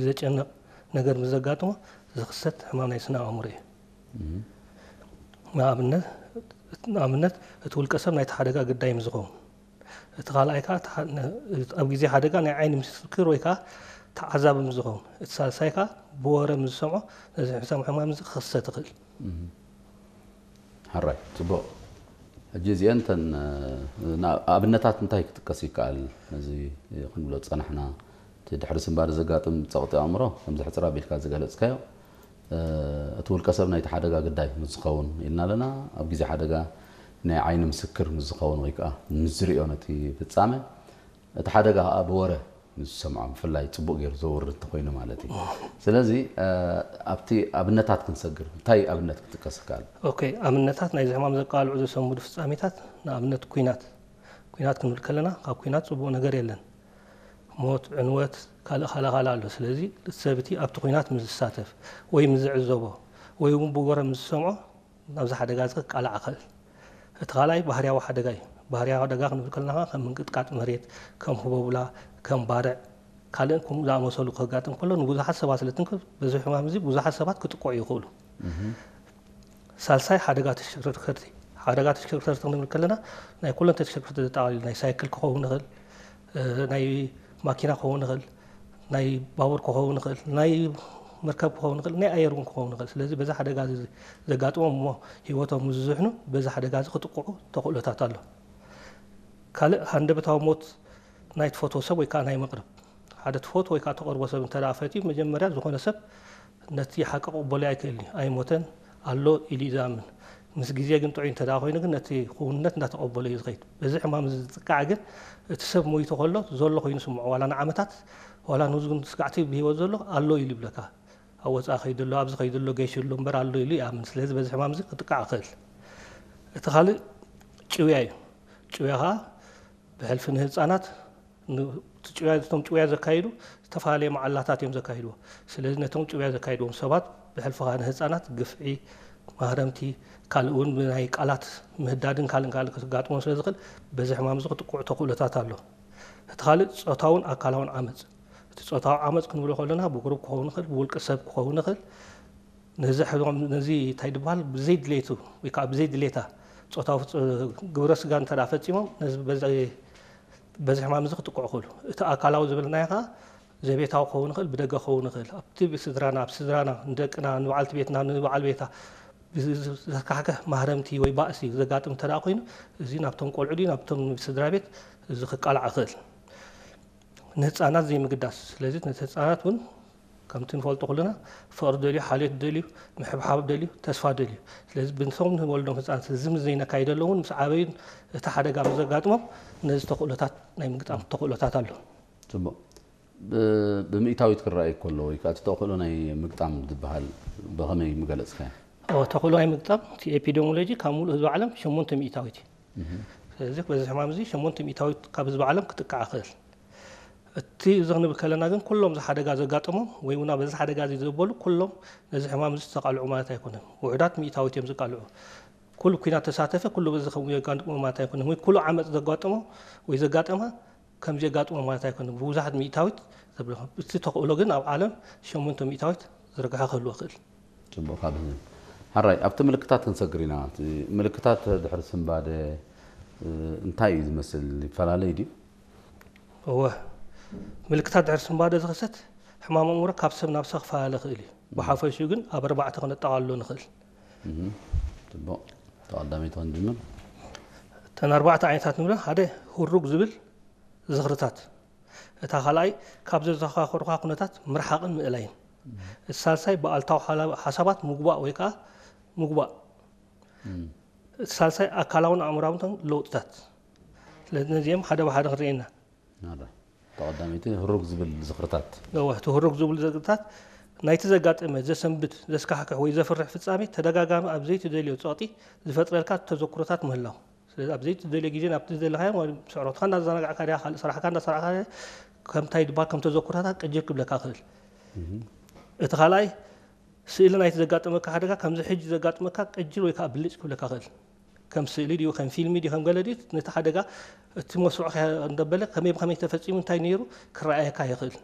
ዘጨንቕ ነገር ምስ ዘጋጥሞ ዝኽሰት ሕማም ናይ ስነ ኣእምሮ እዩ። ንኣብነት ንኣብነት እቲ ውልቀ ሰብ ናይቲ ሓደጋ ግዳይ ምስ ዝኸውን፣ እቲ ካልኣይ ከዓ ተሓ- ነ- ኣብ ግዜ ሓደጋ ናይ ዓይኒ ምስክር ወይ ከዓ ተዓዛቢ ምስ ዝኸውን፣ እቲ ሳልሳይ ከዓ ብወረ ምስ ዝሰምዖ ነዚ ሕሳም ሕማም እዚ ክኽሰት ይኽእል። ሕራይ፣ ፅቡቕ። ሕጂ እዚአን እተን ኣብነታት እንታይ ክጥቀስ ይከኣል? ነዚ ክንብሎ ዝፀናሕና እቲ ድሕሪ ስንባደ ዘጋጥም ፀቕጢ ኣእምሮ ከምዚ ሕፅር ኣቢልካ ዝገለፅካዮ እቲ ውልቀ ሰብ ናይቲ ሓደጋ ግዳይ ምስ ዝኸውን ኢልና ኣለና። ኣብ ግዜ ሓደጋ ናይ ዓይኒ ምስክር ምስ ዝኸውን ወይ ከዓ ምስ ዝሪኦ ነቲ ፍፃመ እቲ ሓደጋ ከዓ ብወረ ምስ ዝሰምዖ ብፍላይ ፅቡቕ ገይሩ ዘውርድ እንተኮይኑ ማለት እዩ። ስለዚ ኣብቲ ኣብነታት ክንሰግር እንታይ ኣብነት ክጥቀስ ይከኣል? ኦኬ፣ ኣብነታት ናይዚ ሕማም ዘቃልዑ ዘሰንብዱ ፍፃሜታት ንኣብነት ኲናት ኲናት ክንብል ከለና ካብ ኲናት ፅቡቕ ነገር የለን። ሞት፣ ዕንወት፣ ካልእ ካልእ ካልእ ኣሎ። ስለዚ እቲ ሰብ እቲ ኣብቲ ኲናት ምስ ዝሳተፍ ወይ ምስ ዝዕዘቦ ወይ እውን ብወረ ምስ ዝሰምዖ ናብዚ ሓደጋ እዚ ክቃላዕ ይኽእል። እቲ ካልኣይ ባህርያዊ ሓደጋ እዩ። ባህርያዊ ሓደጋ ክንብል ከለና ከም ምንቅጥቃጥ መሬት፣ ከም ህቦብላ፣ ከም ባርዕ፣ ካልእን ከምኡ ዝኣመሰሉ ከጋጥም ከሎ ንብዙሓት ሰባት ስለ ትንክፍ በዚ ሕማም እዚ ብዙሓት ሰባት ክጥቅዑ ይኽእሉ። ሳልሳይ ሓደጋ ተሽከርከርቲ። ሓደጋ ተሽከርከርቲ ክንብል ከለና ናይ ኩለን ተሽከርከርቲ ዘጠቓልል ናይ ሳይክል ክኸውን ይኽእል፣ ናይ ማኪና ክኸውን ይኽእል፣ ናይ ባቡር ክኸውን ይኽእል፣ ናይ መርከብ ክኸውን ይኽእል፣ ናይ ኣየር እውን ክኸውን ይኽእል። ስለዚ በዚ ሓደጋ እዚ ዘጋጥሞም እሞ ህይወቶም ምስ ዝስሕኑ በዚ ሓደጋ እዚ ክጥቅዑ ተኽእሎታት ኣሎ። ካልእ ሃንደበታዊ ሞት ናይ ትፈትዎ ሰብ ወይ ከዓ ናይ መቕርብ ሓደ ትፈትዎ ወይ ከዓ ተቐርቦ ሰብ እንተ ፈትዩ መጀመርያ ዝኾነ ሰብ ነቲ ሓቂ ክቕበሎ ኣይክእልን እዩ። ኣይሞተን ኣሎ ኢሉ እዩ ዝኣምን። ምስ ግዜ ግን ጥዑይ እንተ ኮይኑ ግን ነቲ ክውንነት እንዳተቐበሎ እዩ ዝኸይድ። በዚ ሕማም እዚ ዝጥቃዕ ግን እቲ ሰብ ሞይቱ ከሎ ዘሎ ኮይኑ ስምዖ ዋላ ንዓመታት ዋላ ንዝን ስጋዕቲ ብህይወት ዘሎ ኣሎ ኢሉ ይብለካ። ኣብ ወፃኢ ከይዱ ኣሎ ኣብዚ ከይዱ ኣሎ ገይሹ ኣሎ እምበር ኣሎ ኢሉ ይኣምን። ስለዚ በዚ ሕማም እዚ ክጥቃዕ ይኽእል። እቲ ካልእ ጭውያ እዩ። ጭውያ ከዓ ብሕልፊ ንህፃናት ጭውያ እቶም ጭውያ ዘካይዱ ዝተፈላለየ መዓላታት እዮም ዘካይድዎ። ስለዚ ነቶም ጭውያ ዘካይድዎም ሰባት ብሕልፊ ከዓ ንህፃናት ግፍዒ፣ ማህረምቲ፣ ካልእ እውን ብናይ ቃላት ምህዳድን ካልእን ካልእ ክጋጥሞም ስለ ዝኽእል በዚ ሕማም እዚ ክጥቅዑ ተኽእሎታት ኣሎ። እቲ ካልእ ጾታውን ኣካላውን ዓመፅ። እቲ ጾታዊ ዓመፅ ክንብሎ ከለና ብጉሩብ ክኸውን ይኽእል፣ ብውልቂ ሰብ ክኸውን ይኽእል። ነዚ ሕማም ነዚ እንታይ ድበሃል ብዘይ ድሌቱ ወይ ከዓ ብዘይ ድሌታ ጾታዊ ግብረ ስጋ እንተ ፈፂሞም ነዚ በዚ ሕማም እዚ ክጥቅዑ ይኽእሉ። እቲ ኣካላዊ ዝበልናዮ ከዓ ዘቤታዊ ክኸውን ይኽእል፣ ብደገ ክኸውን ይኽእል። ኣብቲ ብስድራና፣ ኣብ ስድራና፣ ንደቅና፣ ንበዓልቲ ቤትና፣ ንበዓል ቤታ ዘካሕክሕ ማህረምቲ ወይ ባእሲ ዘጋጥም እንተ ኮይኑ እዚ ናብቶም ቆልዑ ድዩ ናብቶም ስድራ ቤት እዚ ክቃላዕ ይኽእል። ንህፃናት ዘይምግዳስ። ስለዚ ነቲ ህፃናት እውን ከምቲ ንፈልጦ ኩልና ፍቕሪ ደልዩ፣ ሓልዮት ደልዩ፣ ምሕብሓብ ደልዩ፣ ተስፋ ደልዩ። ስለዚ ብንሶም ንወልዶም ህፃናት እዚ ምስ ዘይነካይደሎም እውን ምስ ዓበዩ እቲ ሓደጋ ምስ ዘጋጥሞም ነዚ ተኽእሎታት ናይ ምግጣም ተኽእሎታት ኣሎ። ፅቡቕ። ብምእታዊት ክረኣይ ከሎ ወይ ከዓ እቲ ተኽእሎ ናይ ምግጣም ዝበሃል ብኸመይ ምገለፅካዮ? ተኽእሎ ናይ ምግጣም እቲ ኤፒዲሞሎጂ ካብ ሙሉእ ህዝቢ ዓለም ሸሞንተ ሚእታዊት እዩ። ስለዚ በዚ ሕማም እዚ ሸሞንተ ሚእታዊት ካብ ህዝቢ ዓለም ክጥቃዕ ይኽእል። እቲ እዚ ክንብል ከለና ግን ኩሎም እዚ ሓደጋ ዘጋጠሞም ወይ እውን በዚ ሓደጋ እዚ ዘበሉ ኩሎም ነዚ ሕማም እዚ ዝተቃልዑ ማለት ኣይኮነን። ውሑዳት ሚእታዊት እዮም ዝቃልዑ። ኩሉ ኲናት ተሳተፈ ኩሉ በዚ ከምኡ የጋጥሞ ማለት ኣይኮነን። ወይ ኩሉ ዓመፅ ዘጋጠሞ ወይ ዘጋጠማ ከምዚ የጋጥሞ ማለት ኣይኮነን። ብብዙሓት ሚእታዊት ዘብለ እቲ ተኽእሎ ግን ኣብ ዓለም ሸሞንተ ሚእታዊት ዝርግሐ ክህልዎ ይኽእል። ፅቡቕ ካብ ሕራይ ኣብቲ ምልክታት ክንሰግር ኢና። ምልክታት ድሕሪ ስንባደ እንታይ እዩ ዝመስል? ይፈላለይ ድዩ? እወ፣ ምልክታት ድሕሪ ስንባደ ዝኽሰት ሕማም ኣእምሮ ካብ ሰብ ናብ ሰብ ክፈላለ ይኽእል እዩ። ብሓፈሽኡ ግን ኣብ ኣርባዕተ ክነጠቓልሎ ንኽእል። ፅቡቕ፣ ተቐዳመይቲ ክንጅምር። እተን ኣርባዕተ ዓይነታት ንብለን ሓደ ህሩግ ዝብል ዝኽርታት፣ እታ ካልኣይ ካብ ዘዘኻኸሩኻ ኩነታት ምርሓቕን ምእላይን፣ እቲ ሳልሳይ ብኣልታዊ ሓሳባት ምጉባእ ወይ ከዓ ምጉባእ፣ እቲ ሳልሳይ ኣካላውን ኣእምራውንትን ለውጥታት። ስለዚ ነዚኦም ሓደ ብሓደ ክንርእየና። ተቐዳመይቲ ህሩግ ዝብል ዝኽርታት። እወ፣ እቲ ህሩግ ዝብል ዝኽርታት ናይቲ ዘጋጠመ፣ ዘሰንብድ፣ ዘስካሕክሕ ወይ ዘፍርሕ ፍጻሜ ተደጋጋሚ ኣብ ዘይትደልዮ ጸቕጢ ዝፈጥረልካ ተዘክሮታት ምህላው። ስለዚ ኣብ ዘይትደልዮ ግዜ ናብቲ ዝደለኻዮ ማለት ስዕረትካ እንዳዘናጋዕካ ድያ ካልእ ስራሕካ እንዳሰራሕካ ድያ ከምታይ ድባል ከም ተዘክሮታት ቅጅል ክብለካ ይኽእል። እቲ ካልኣይ ስእሊ ናይቲ ዘጋጠመካ ሓደጋ ከምዚ ሕጂ ዘጋጥመካ ቅጅል ወይ ከዓ ብልጭ ክብለካ ይኽእል። ከም ስእሊ ድዩ ከም ፊልሚ ድዩ ከም ገለ ድዩ ነቲ ሓደጋ እቲ መስርዑ እንዳበለ ከመይ ብከመይ ተፈፂሙ እንታይ ነይሩ ክረኣየካ ይኽእል።